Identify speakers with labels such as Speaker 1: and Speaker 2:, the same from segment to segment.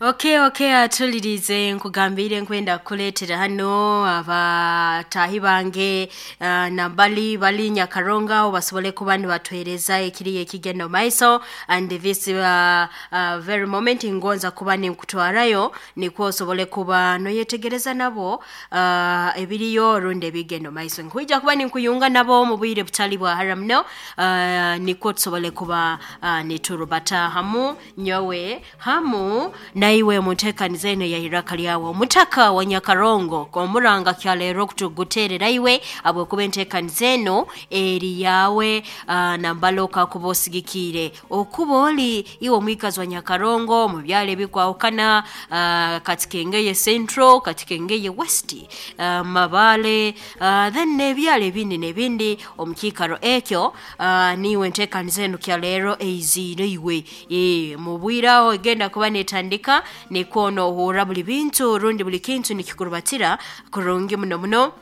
Speaker 1: Okay, atulirize nkugambire nkwenda kukuleetera hano abataahi bange nambali bali Nyakaronga aho basobole kuba nibatuheereza ekiriyo ekigenda omu maiso. And this very moment ngonza kuba ninkutwarayo nikwo osobole kuba noyetegereza nabo ebiriyo rundi ebigenda omu maiso. Nkwija kuba ninkuyunga nabo omu bwire butali bwa hara muno, nikwo tusobole kuba niturubata hamu nyowe hamu naiwe munteekaniza eno ya Iraka lyawe. Omutaka wa Nyakarongo omuranga kyaleero okutuguteerera iwe habwokuba enteekaniza eno eri yawe, nambala okakuba osigikiire okuba oli iwe omwikazi wa Nyakarongo mu byalo ebikwahukana, Katikengeye Central, Katikengeye West, Mabale, then n'ebyalo ebindi n'ebindi omu kiikaro ekyo, niiwe enteekaniza eno kyaleero eiziire iwe. Mu bwire aho egenda kuba neetandika nikwo noohurra buli bintu rundi buli kintu nikikurubatira kurungi muno muno,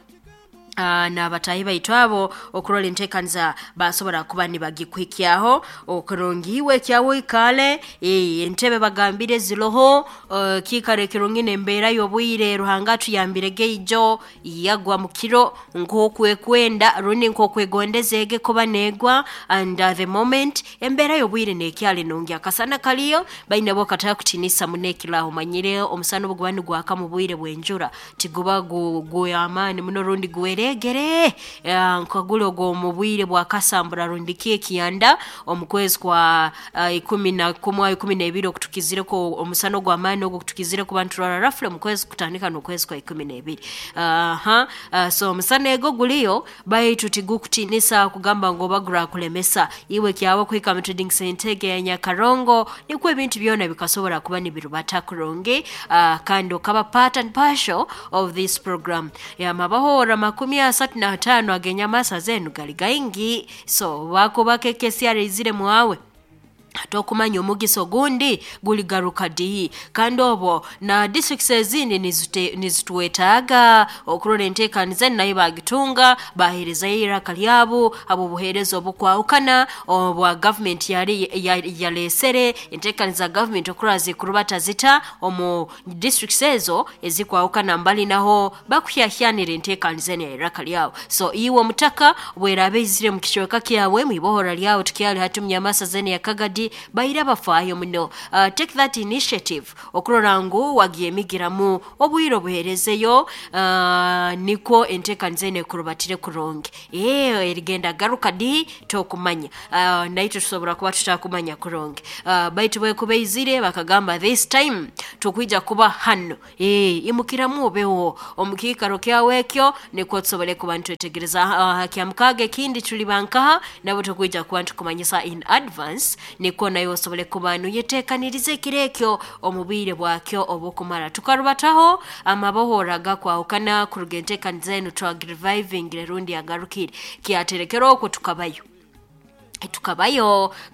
Speaker 1: n'abataahi baitu abo okurora enteekaniza basobora kuba nibagikuhikyaho okurungi. Iwe kyawe oikaale, entebe bagambire ziroho, kiikaro ekirungi n'embeera y'obwire. Ruhanga atuyambire geijo yagwa mu kiro nk'okwekwenda rundi nk'okwegondeza ege kuba neegwa. And the moment embeera y'obwire neekyali nungi, akasana kaliyo baine bo katakutinisa muno ekiraho. Omanyire omusana obu guba nigwaka mu bwire bw'enjura tiguba gw'amaani muno rundi gwereegere, nka guli ogw'omu bwire bwa kasambura rundi ki ekiyanda omu kwezi kwa 11, 12 okutukizireko omusana ogw'amaani ogu okutukizire kuba niturora rafule mu kwezi kutandika n'okwezi kwa 12. Aha, so omusana ego guliyo baitu tigukutinisa kugamba ngu oba gurakulemesa. Iwe kyawe kuhika mu Trading Center egi eya Nyakarongo nikwo ebintu byona bikasobora kuba nibirubata kurungi, kandi okaba part and partial of this program. Yamabahoora 35 ag'enyamasa zenu gali gaingi, so bakuba kekesyara eizire mwawe tokumanya omugisa ogundi guligaruka dihi. Kandi obwo na districts ezindi nizitwetaaga okurora enteekaniza enu nayo bagitunga baheerezayo iraka lyabo habw'obuheereza obukwahukana obwa gavumenti yali yaleesere enteekaniza gavumenti okurora zikurubata zita omu districts ezo ezikwahukana mbali naho bakuhyahyanira enteekaniza enu ya iraka lyabo. So iwe omutaka bweraaba eizire mu kicweka kyawe mwibohora lyawe tukyali hati munyamasa zenu ya Kagadi baire bafaayo muno, take that initiative okurora ngu wagyemigiramu obwire obuheerezeyo, nikwo enteekaniza enu ekurubatire kurungi. Erigenda garuka dihi tokumanya, naitwe tusobora kuba tutakumanya kurungi, baitu bwekuba eizire bakagamba this time tukwija kuba hano, imukiramu obeho omu kiikaro kyawe ekyo nikwo tusobole kuba nitwetegereza. Kyamukaaga ekindi tuliba nkaha nabo tukwija kuba nitukumanyisa in advance nikwo nawe osobole kuba noyeteekaniriza ekiro ekyo omu bwire bwakyo obukumara. Tukarubataho amabohora agakwahukana kuruga enteekaniza enu twagirevivingire rundi yagarukire kyaterekera okwo tukabayo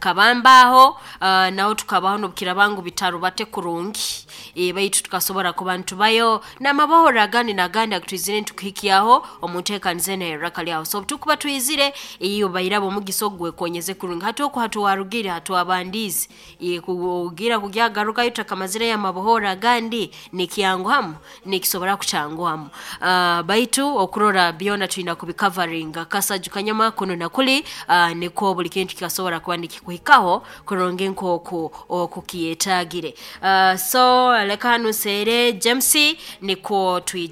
Speaker 1: kabambaho, naho tukabaho n'obukiraaba ngu bitarubate kurungi, baitu tukasobora kuba nitubayo n'amabohoro agandi n'agandi agutwizire nitukuhikyaho omu nteekaniza enu ey'iraka lyawe. So obutukuba twizire iyo bairaba omugisa ogu gwekonyeze kurungi. Hati oku hatuwarugire hatuwabandiize, kugira kugyagarukayo tutakamazireyo amabohoro agandi nikyanguhamu nikisobora kukyanguhamu, baitu okurora byona twina kubikavaringa kasaju kanyama kunu na kuli, nikwo buli kintu kikasobora kuba nikikuhikaho kurungi nk'oku okukyetaagire. So leka hanu nseere James nikwo twije.